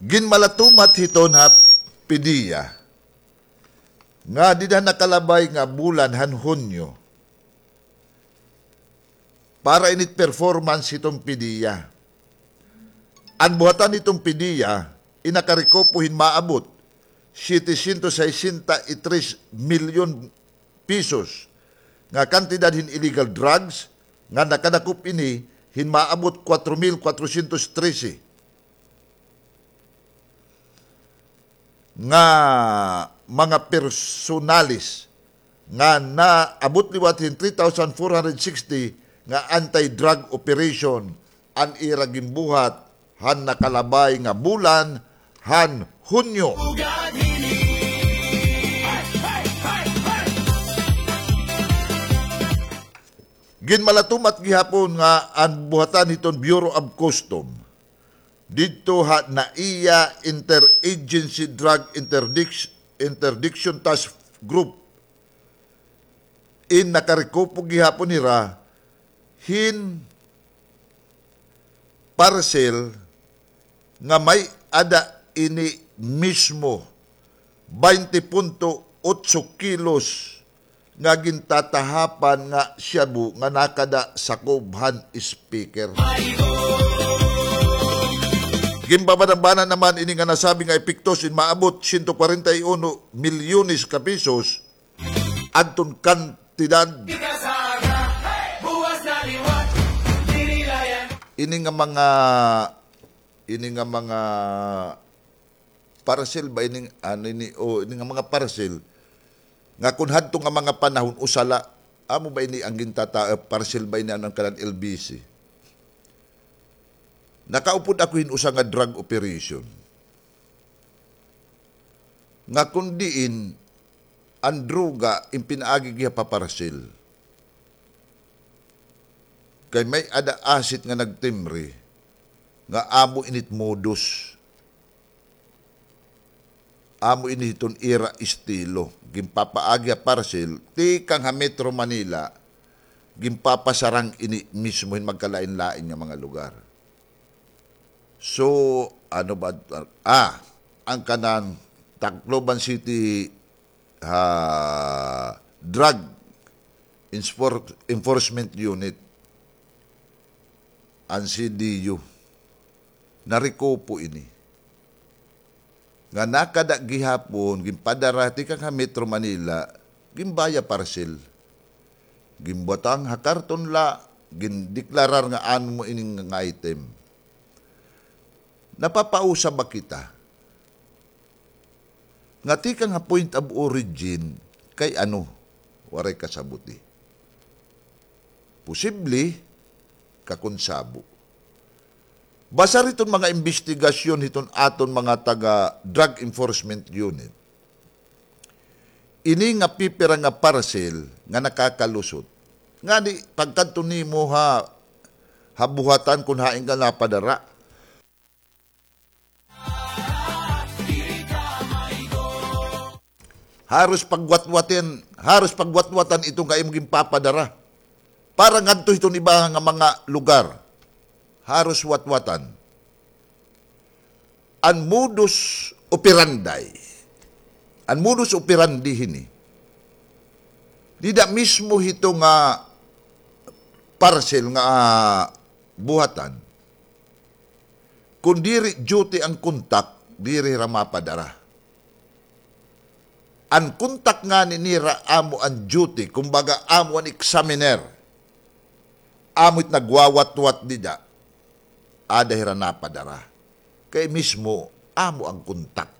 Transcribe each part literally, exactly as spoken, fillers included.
Ginmalatumat hiton ha PDEA nga dida nakalabay nga bulan han Hunyo, para init performance hiton PDEA. An buhatan hiton PDEA, in nakarekupo hin maabot setecientos sesenta y tres milyon pesos nga kantidad hin illegal drugs nga nakadakop ini hin maabot cuatro mil cuatrocientos trece nga mga personales nga naabot liwat hin three thousand four hundred sixty nga anti-drug operation an ira ginbuhat han nakalabay nga bulan han Hunyo. Ginmalatumat gihapon nga an buhatan hiton Bureau of Custom didto ha NAIA Interagency Drug Interdic-, Interdiction Task Group in nakarekupo gihapon hira hin parcel nga may-ada ini mismo baynte punto otso kilos nga gintatahapan nga shabu nga nakada sakob han speaker. Ginbabanabana naman ini nga nasabi nga epektos in maabot siyento kwarenta y uno milyones ka pesos adton kantidad. Ini nga mga, ini nga mga parcel ba ini, ano ini, o ini nga mga parcel nga kun hadto nga mga panahon usa la, amo ba ini an gintata-, eh, parcel ba ini an kanan L B C? Nakaupod ako hin usa nga drug operation nga kun diin an droga in pinaagi giha pa parcel. Kay may-ada asit nga nagtimbre nga amo init modus. Amo ini hiton ira estilo. Ginpapaagi ha parcel, tikang ha Metro Manila, ginpapasarang ini mismo hin magkalain-lain nga mga lugar. So, ano ba, ah, an kanan Tacloban City ha Drug Enfor-, Enforcement Unit, an C D U, narekupo ini. Nga nakada gihapon, ginpadara tikang ha Metro Manila, ginbaya parcel. Ginbutang ha karton la, gindeklarar nga ano mo ini nga item. Napapausa ba kita? Nga tikang ha point of origin kay ano, waray kasabuti. Posible, kakonsabo. Basar hiton mga imbestigasyon hiton aton mga taga Drug Enforcement Unit, ini nga pipira nga parcel nga nakakalusot. Ngani, pagkadto nimo ha, ha buhatan kun hain ka napadara, haros pagwatwatin, haros pagwatwatan iton nga imo ginpapadara. Para ngadto hiton iba nga mga lugar, haros watwatan. An modus operandi, an modus operandi hini, dida mismo hito nga parcel nga, ah, buhatan, kun diri duty an kontak, diri hira mapadara. An kontak ngani nira amo an duty, kumbaga amo an examiner. Amo it nagwawatwat dida, ada hira napadara. Kay mismo amo an kontak.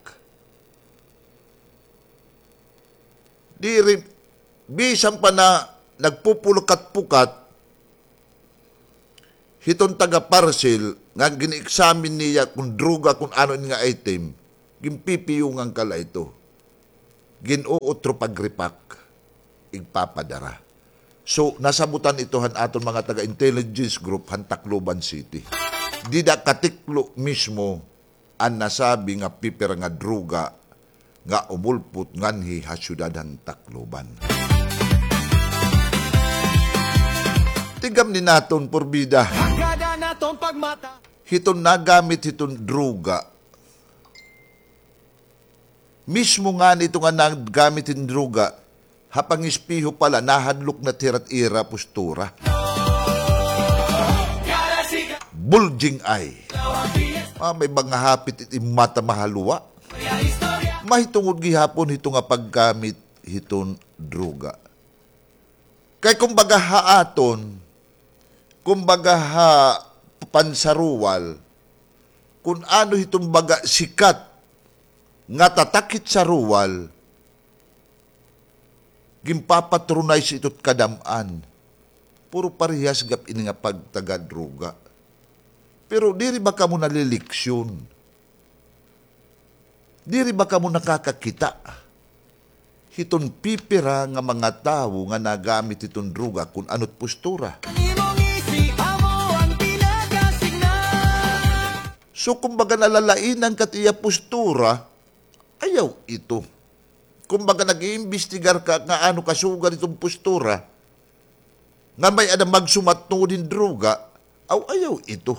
Diri, bisan pa na nagpupulkat-pukat, hiton taga-parcel nga gin-examine niya kun droga, kun ano ini nga item, ginpipiyungan ka la ito. Gin-uutro pag-repack, igpapadara. So, nasabutan ito han aton mga taga-intelligence group han Tacloban City. Dida katiklo mismo an nasabi nga pipira nga droga nga umulpot nganhi ha syudad han Tacloban. Tigamni naton, purbida. Hiton nagamit hiton droga, Mismo ngani ito nga naggamit hin droga, ha pangispiho pa la, nahadlok na it hira it ira postura. Bulging eye. Ah, may mga hapit it im mata mahaluwa. Mahitungod gihapon hito nga paggamit hiton droga. Kay kumbaga ha aton, kumbaga ha pansaruwal, kun ano hiton baga sikat nga tatak hit saruwal, ginpapatronize ito it kadam-an. Puro parehas gap ini nga pagtagadroga. Pero diri ba kamo naliliksyon? Diri ba kamo nakakakita hiton pipira nga mga tawo nga nagamit hiton droga kun ano it postura? So, kumbaga, nalalainan ka it iya postura, ayaw ito. Kumbaga, nag-iimbestigar ka nga ano kasugad hiton postura, nga may-ada magsumat tungod hin droga, aw, ayaw ito.